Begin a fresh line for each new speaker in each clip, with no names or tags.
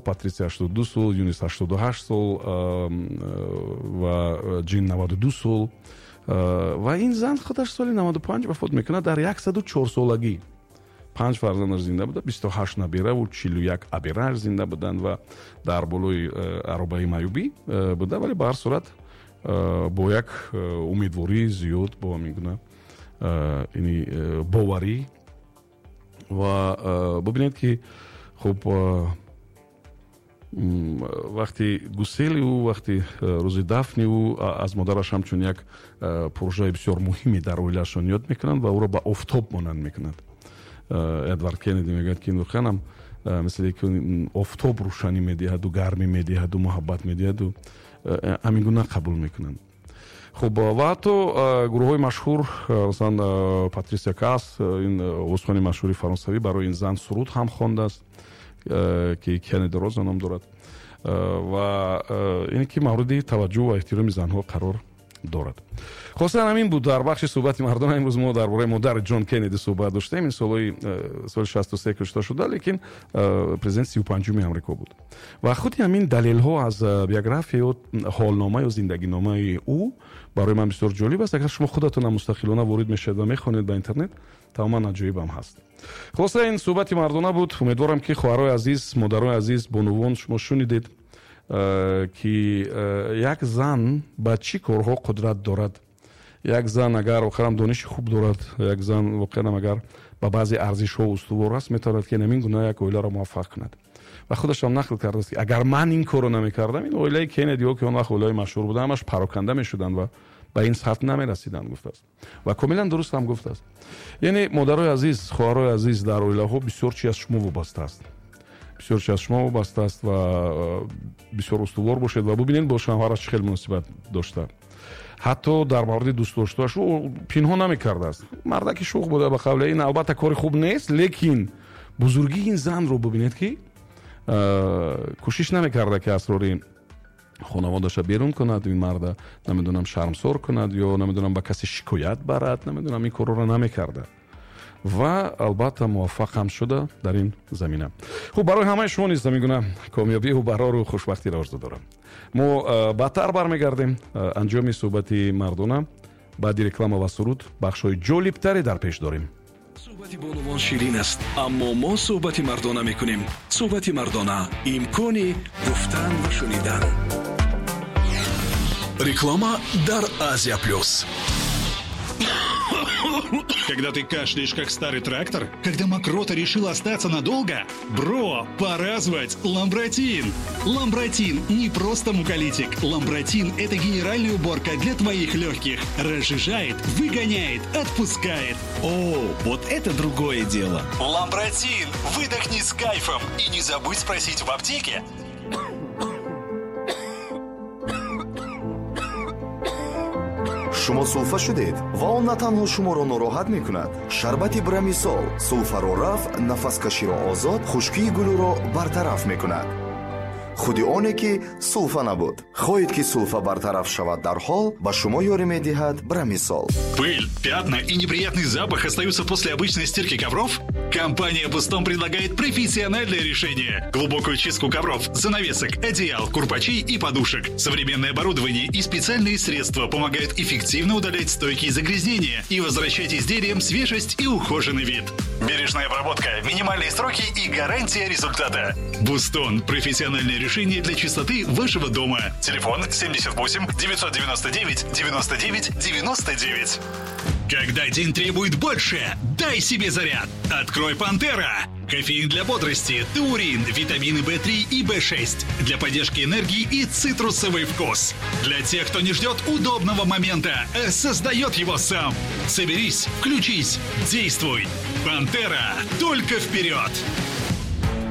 Патрисия 82 сол, Юнис 88 сол ва Ҷин 92 сол. Ва ин зан худаш соли 95 вафот мекунад дар 104 солагӣ. Панҷ фарзандаш зинда буда, 28 набераву 41 аберааш зинда буданд ва дар болои аробаи маъюбӣ буда, вале ба ҳар сурат бо як умедвории зиёд, бо ҳамин гуна ини боварӣ. Ва бубинед, ки хуб, вақти гусели ӯ, вақти рӯзи дафни ӯ, аз модараш ҳамчун як пуржаи бисёр муҳиме дар оилаашон ёд мекунанд ва ӯро ба офтоб монанд мекунанд. Эдвард Кеннеди мегӯяд, ки воқеан мисли ки офтоб рӯшанӣ медиҳаду гармӣ медиҳаду муҳаббат медиҳаду ҳамин гуна қабул мекунанд. Хуб, ва ҳатто гурӯҳҳои машҳур, масалан Патрисия Кас, ин овозхони машҳури фаронсавӣ, барои ин зан суруд ҳам хондааст, ки Кеннеди Роза ном дорад, ва ин ки мавриди таваҷҷӯҳ ва эҳтироми занҳо қарор дорад. Хостан ҳамин буд дар бахши суҳбати мардона. Имрӯз мо дар бораи модари Ҷон Кеннеди суҳбат доштем. Ин солҳои соли 63 кушта шуда, лекин президент 35-уми Амрико буд. Ва худи ҳамин далелҳо аз биография ё ҳолнома ё зиндагиномаи ӯ барои ман бисёр ҷолиб аст. Агар шумо худатонам мустақилона ворид мешавед ва мехонед ба интернет, тамоман аҷоибам ҳаст. Хулоса, ин суҳбати мардона буд. Умедворам, ки хоҳарои азиз, модарои азиз, бонувон, шумо шунидед, ки як зан ба чӣ корҳо қудрат дорад. Як зан агар воқеан дониши хуб дорад, як зан воқеан агар ба баъзе арзишҳо устувор аст, метавонад, ки ҳамин гуна як оиларо муваффақ кунад. Ва худашам нақл кардааст, ки агар ман ин корро намекардам, ин оилаи Кеннедиҳо, ки он вақт оилаи машҳур буда, ҳамаш пароканда мешуданд ва ба ин сатҳ намерасиданд, гуфтааст. Ва комилан дуруст ҳам гуфтааст. Яъне, модарои азиз, хоҳарои азиз, дар оилаҳо бисёр чи аз шумо вобаста аст, бисёр чи аз шумо вобаста аст ва бисёр устувор бошед. Ва бубинед, бо шавҳараш чӣ хел муносибат дошта, ҳатто дар мавриди дӯстдоштааш ӯ пинҳон намекардааст. Мардаки шӯх буда, ба қавле. Ин албатта кори хуб нест, лекин бузургии ин занро бубинед, ки кӯшиш намекарда, ки асрори хонаводаша берун кунад, ин марда, намедонам, шармсор кунад ё, намедонам, ба касе шикоят барад, намедонам, ин корҳоро намекарда ва албатта муваффақ ҳам шуда дар ин замина. Хуб, барои ҳамаи шумо низ ҳамин гуна комёбиву барору хушбахтиро орзу дорам. Мо баъдтар бармегардем. Анҷоми суҳбати мардона баъди реклама ва суруд, бахшҳои ҷолибтаре дар пеш дорем.
Суҳбати бонувон ширин аст, аммо мо суҳбати мардона мекунем. Суҳбати мардона: имкони гуфтан ва шунидан. Реклама дар Азия Плюс.
Когда ты кашляешь, как старый трактор? Когда мокрота решила остаться надолго? Бро, пора звать Ламбратин! Ламбратин не просто муколитик. Ламбратин – это генеральная уборка для твоих легких. Разжижает, выгоняет, отпускает.
О, вот это другое дело.
Ламбратин! Выдохни с кайфом и не забудь спросить в аптеке.
Шумо сулфа шудед ва он на танҳо шуморо нороҳат мекунад. Шарбати Брамисол сулфаро рафъ, нафаскаширо озод, хушкии гулӯро бартараф мекунад. Худи оне ки сулфа набуд. Хоҳед, ки сулфа бартараф шавад дарҳол, ба шумо ёрӣ медиҳад Брамисол.
Пыль, пятна и неприятный запах остаются после обычной стирки ковров? Компания «Бустон» предлагает профессиональное решение. Глубокую чистку ковров, занавесок, одеял, курпачей и подушек. Современное оборудование и специальные средства помогают эффективно удалять стойкие загрязнения и возвращать изделиям свежесть и ухоженный вид. Бережная обработка, минимальные сроки и гарантия результата. «Бустон» – профессиональное решение для чистоты вашего дома. Телефон 78 999 99 99. Когда день требует больше, дай себе заряд. Открой «Пантера». Кофеин для бодрости, таурин, витамины В3 и В6 для поддержки энергии и цитрусовый вкус. Для тех, кто не ждет удобного момента, а создает его сам. Соберись, включись, действуй. «Пантера». Только вперед!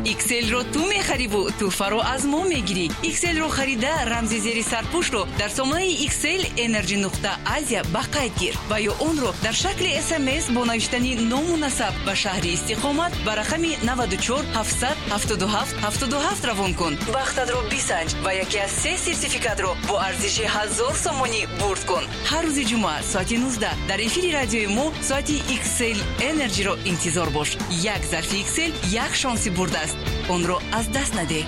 XL-ро ту мехариву тӯҳфаро аз мо мегирӣ. XL-ро харида, рамзи зери сарпӯшро дар сомонаи XL Energy.Asia ба қайд гир ва ё онро дар шакли СМС бо навиштани ному насаб ба шаҳри истиқомат ба рақами 94 777 77 равон кун. Бахтатро бисанҷ ва яке аз се сертификатро бо арзиши 1000 сомонӣ бурд кун. Ҳар рӯзи ҷумъа соати 19 дар эфири радиои мо соати XL Energy-ро интизор бош. Як зарфи XL як шонси бурд аст, онро аз даст надеҳ.